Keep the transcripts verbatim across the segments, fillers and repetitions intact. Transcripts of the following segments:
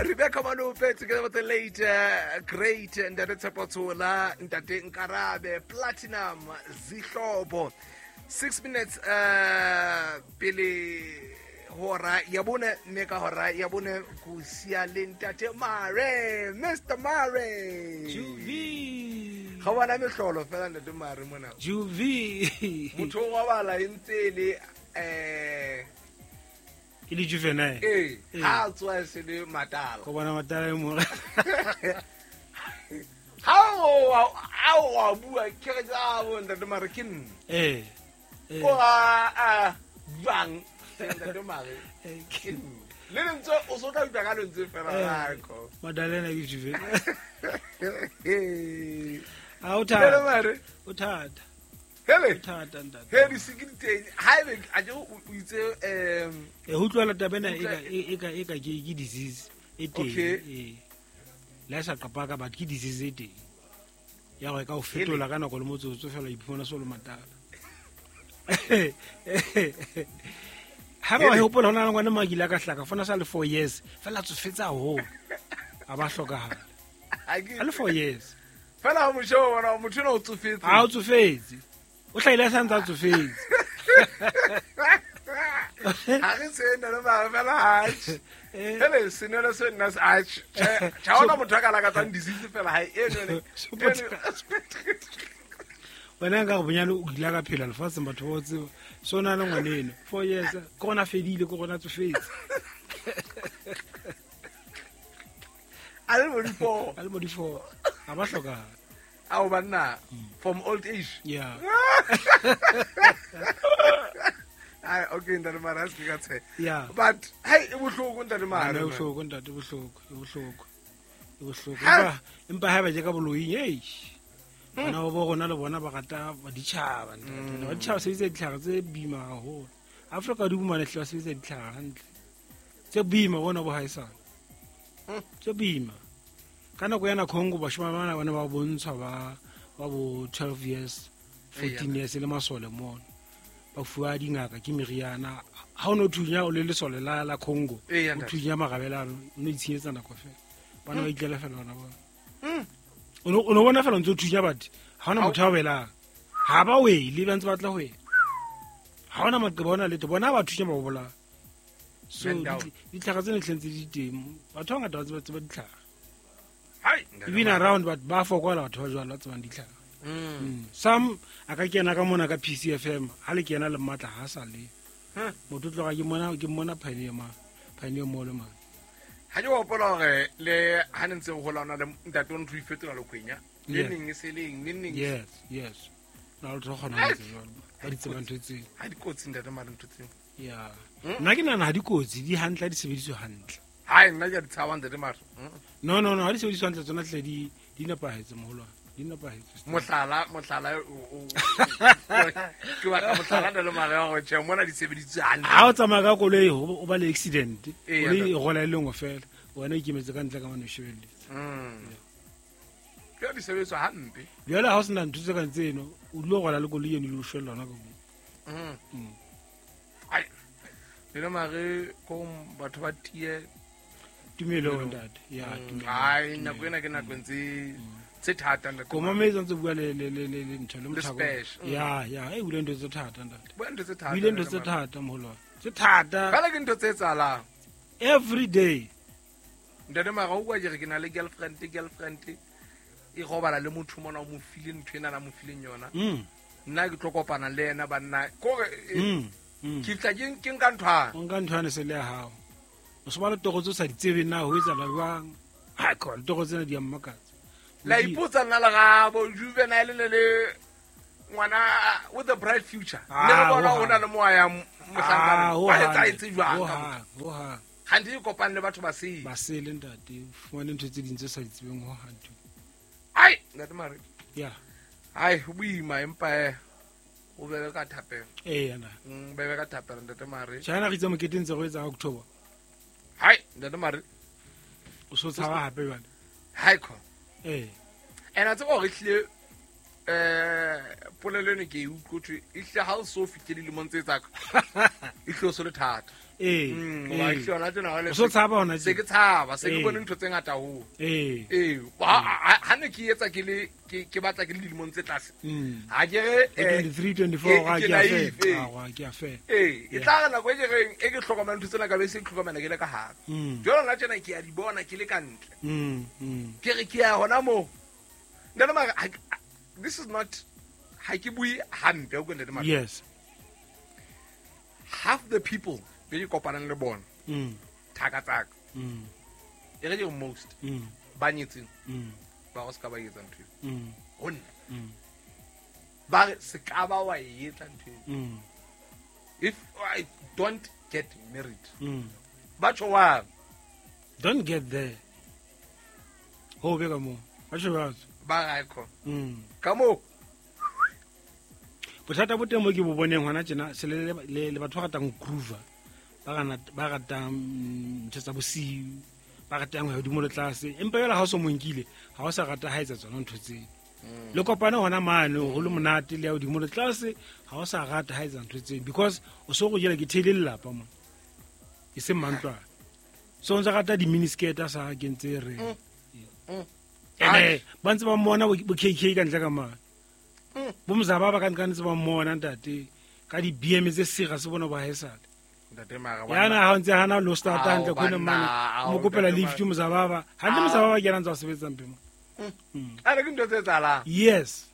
Rebecca Malope together with the late uh, great Ntate Tshepo Tshola, Ntate Nkarabe, Platinum Zihlobo. Six minutes uh pele hora ya bone, mme ka hora ya bone ko sia le Ntate Mare, Mister Mare. Juvi. Ga bona mehlolo fela Ntate Mare mona. Juvi. Motho wa bala e ntse le eh ke le juvenile. Eh, ha tswa se le matala. Go bona matala e mo. Ha o a o bua ke re tsa bo Ntate Mare ke nna. Eh. Ko a a bang Ntate Mare ke nna. Le ntse o so tla utlwa ka lentse fela la ko. Madalena ke juvenile. A o Ntate thata. Mare. O thata. Hele. O thata ntate. He di sikiteng ha ebe a je o itse em E ho utlwela taba ena e ka e ka e ka ke ke disease e teng. Okay. Eh. Le sa qapa ka but ke disease e teng. Ya go ka o fetola ka nako le motsotso fela o iphumana so le matala. Ha ba hopola hona le ngwana makile ka hlaka fona sa le four years fela tsofetsa haholo. A ba hlokahala. A le four years. Fela ha mosho bona motho ena o tsofetse. Ha o tsofetse. O hlahile sa ntse a tsofetse. Ha re se nna le ba fela ha. Hele senelo se nna se a cha ona motho a ka lakatsang disease fela ha e none. Wena nka go bonyane o ile ka phela lefatsheng batho ba o tseba. So na le ngwaneno four years ke gona fedile ke gona tsofetse. A le mo di four. A le mo di four. Ha ba hlokahala. Ao banna from old age. Yeah. Ai okay Ntate Mare a se ka tshe. Yeah. But hey e bohloko Ntate Mare. E bohloko ntate, e bohloko, e bohloko. E bohloko. Empa empa ha ba je ka boloing ei. Bana ba bo rona le bona ba rata ba ditjhaba ntate. Ba ditjhaba sebetsa ditlhare tse boima haholo. Afrika di bumane hle ba sebetsa ditlhare hantle. Tse boima bona bo haesale. Tse boima. Ka nako yana Congo bashimane bana bana ba bontshwa ba ba bo twelve years, fourteen years le masole mono. Ba fuwa dingaka ke meriana. Ha o no thunya o le lesole la la Congo. O thunya magabela o no itshenyetsa nako fela. Bana ba itlela fela bona bona. O no o no bona fela ntse o thunya batho. Ha ona motho a welang. Ha ba wele ba ntse ba tla ho wela. Ha ona maqeba ona letho bona ba thunya ba bola. So ditlhare tsena tlentse di teng. Batho ba ngata ba tseba tseba ditlhare. Hai even around but ba fokola batho ba jwalo ba tsebang ditlhare. Mm. Some a ka kena ka mona ka P C F M ha le kena le matla ha sa le. Motho tloga ke mona ke mona Pioneer ma Pioneer Mall ma. Ha ke hopola hore le ha ne ntse ho hola ona le ntate o ntho ifetola lokwenya. Le neng e seleng, le neng. Yes, yes. Na le tlo kgona ho etsa jwalo. Ba di tseba ntho tse. Ha di kotsi ntate Mare ntho tseo. Yeah. Nna ke nahana ha di kotsi, di hantle ha di sebediswe hantle. Hai nna ke di tshaba ntate Mare. No no no, ha di sebediswe hantle tsona tle di di nepahetse moholwane. Di nepahetse. Mohlala, mohlala o ke batla mohlala ntate Mare wa go tjhe mona di sebediswe hantle. Ha o tsamaya ka koloi o ba le accident, koloi e rola e le nngwe fela, wena o ikemetse ka ntle ka mane o shebelletse. Mm. Ke di sebediswa hampe. Jwale ha o sena ntho tse kang tseno, o dilo rola le koloi eno le o shwella yona ka moo. Mm. Ai. Le Mare ko batho ba tie tumelo ntate. Ya tumelo. Ai nako ena ke nako ntse tse thata ntate. Ko mametse ntse bua le le le le ntho le mothako. Ya ya e bule ntho tse thata ntate. Bua ntho tse thata. Bule ntho tse thata moholo. Tse thata. Fela ke ntho tse etsahalang. Every day. Ntate Mare o kwa ke re ke na le girlfriend girlfriend e robala le motho mona o mo file ntho ena na mo fileng yona. Nna ke tlo kopana le yena banna. Kore ke tla ke ke nka nthwana. O nka nthwana se le ya hao. O se ba le toro tse sa di tsebeng na ho etsahala jwang. Ha ka toro tsena di a mmakatsa. La ipotsa nna le gabo juvenile le le ngwana with a bright future. Ne re bona o na le moya ya mohlankana. Ba etsa etse jwang ka motho. Ho ha. Hante e kopane le batho ba sele. Ba sele ntate, o fumane ntho tse ding tse sa di tsebeng ho hang. Ai, ntate Mare. Yeah. Ai, ho boima empa eh o bebe ka thapelo. Eh yana. Mm, bebe ka thapelo ntate Mare. China re itse moketeng tse go etsa October. Hai, ntate Mare. O so tshaba hape jwale. Hai ko. Eh. Ena tse go re tlile eh polelo ene ke e utlwe e hle ha o so fihle dilemong tse tsaka. E hle o so le thata. Ee, Mm, ee. wa hlona tjena hole O so tshaba hona se tje. ke tshaba se ke Ee. bone ntho tse ngata haholo Ee. ee ha- ha ha ne ke etsa ke le ke ke batla ke le dilemong tse tlase Mm. ha ke re E eh, twenty-three, twenty-four, ke- ga ke ke a naive, fela. ee. Ah, ga ke a fela. ee e Yeah. tla re nako e ke reng e ke hlokomela ntho tsena ka be se ke hlokomela ke le ka hare Mm. jwale nna tjena ke a di bona ke le ka ntle Mm, mm. ke re ke ya hona moo ntate Mare ha ke- this is not ha ke bue hampe o ntate Mare Yes. half the people be ke kopanang le bona Mm, thaka tsaka mm, e re ke re most mm, ba nyetseng mm, ba go se ka ba etsa ntho eo mm, ho nna mm, ba re se ka ba wa e etsa ntho eo mm, if I don't get married mm. ba tjho wang Don't get there. Ho be ka moo. Ba tjho jwalo. ba re ae khona Mm. ka moo Bothata bo teng mo ke bo boneng hona tjena se le le le batho ba ratang ho groove ba rana- ba ratang mm, ntho tsa bosiu ba ratang ho ya hodimo le tlase empa jwale ha o so mo nkile ha o sa rata ha etsa tsona ntho tseo le kopane hona mane ho le monate le ya hodimo le tlase ha o sa rata ha etsa ntho tseo because o so go jela ke theile lelapa mo e seng mantlwana so o ntse rata di-miniskirt a sa kentse re Mm. ene ba ntse ba mmona bo bo K K ka ntle ka mane Mm. bo mozaba ba ka ntle ka ntse ba mmona ntate ka di-B M tse sega se bona ba haesale ntate Mare yana ha o ntse hana lo starta Ao, hantle khone banna, mane ao, o mo kopela ntate lift Mare. mozababa hantle Ao. mozababa ke yena ntse a sebetsang pemo a re ke ntho tse etsahalang yes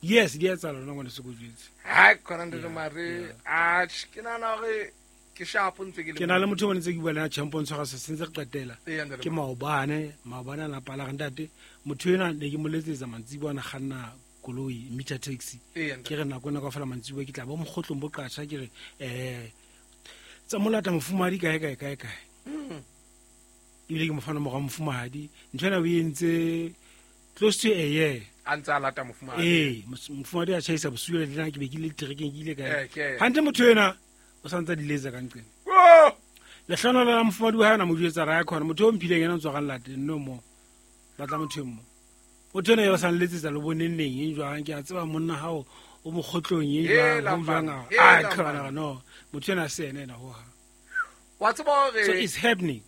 yes di etsahala lona ngwane se ko jwetse hai khona ntate Yeah, Mare yeah. atjhe ke nahana hore ke sharp ntse ke le ke na le motho o ntse ke bua le ena champion tshwara se sentse re qetela Ee, ntate ke Mare. maobane maobane a napala re ntate motho ena ne ke mo letsetsa mantsiboa a na kganna koloi meter taxi Ee, ntate. ke re nako ena kaofela mantsiboa ke tla bo mokgotlong bo qatjha ke re um tsa molata mofumahadi kae kae kae kae Mm. ebile ke mo fa nomoro ya mofumahadi ntho ena o entse close to a year a ntse a lata mofumahadi ee mos- mofumahadi a tjhaisa bosiu le nna ke be ke le terekeng ke ile Eh, kae ke- hantle motho ena o sa ntse a di letsa ka nqeng Oh! lehlohonolo la mofumahadi wa hae ona mo jwetsa ra ya khona motho o mphileng ena o tswa ga late no mo batla motho e mo motho ena o sa nletsetsa le boneng neng eng jwang ke a tseba monna hao o mokgotlong eng jwang Hela, ho jwang man. a Hela, a khona man. no motho ena se ene ena ho hang wa tseba so hore it's happening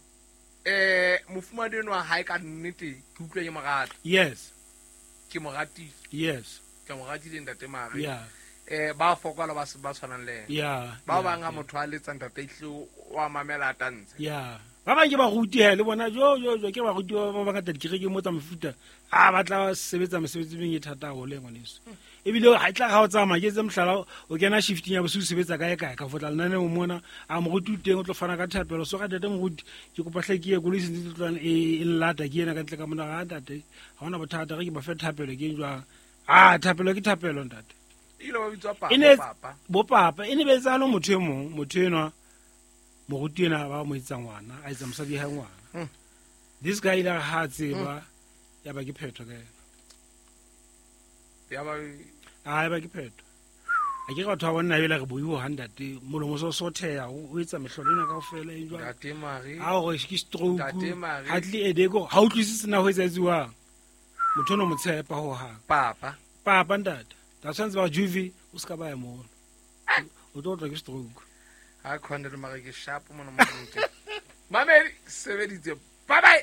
eh mofumahadi enwa hae ka nnete ke utlwa ke mo rata yes ke mo ratile yes ke mo ratile ntate Mare yeah eh ba fokola ba se- ba tshwanang le ena yeah ba yeah, bang ha yeah. motho a letsa ntate ehlile wa mamela a tantshe ya ba bang ke baruti he le bona jo jo jo ke baruti ba ba bangata dikerekeng mo tsa mefuta a ba tla sebetsa mesebetsi e meng e thata haholo e ngwaneso ebile ha e tla ga o tsamaya ke etse mohlala o kena shifting ya bosiu o sebetsa kae kae ka fotla lenaneong mona a moruti o teng o tlo fana ka thapelo so ga tate moruti ke kopa hle ke ye koloi sentse tse tloang e e nlata ke ena ka ntle ka mona ga tate ga ona bothata ge ke ba fe thapelo ke eng jwang a thapelo ke thapelo ntate ile ba bitswa e ne papa papa bo papa e ne be etsahale motho e mong motho enwa moruti ena ba mo etsa ngwana a etsa mosadi ya hae ngwana Mm. this guy ile a re ha a tseba ya ba ke phetho ka ena ya ba a ya ba ke phetho a ke re batho ba bonna ebele re boiwo ha ntate molomo so sotheha o o etsa mehlolo ena kaofela e jwang ntate Mare a gore ke stroke Ntate Mare. hardly a day ko ha utlwisise na ho etsaetsiwang motho ono mo tshepa hohang papa papa ntate ta tshwanetse ba re juve o se ka ba ya mono o tlo otlwa ke stroke ha khona ntate Mare ke sharp mona mo mamedi sebeditse bye bye.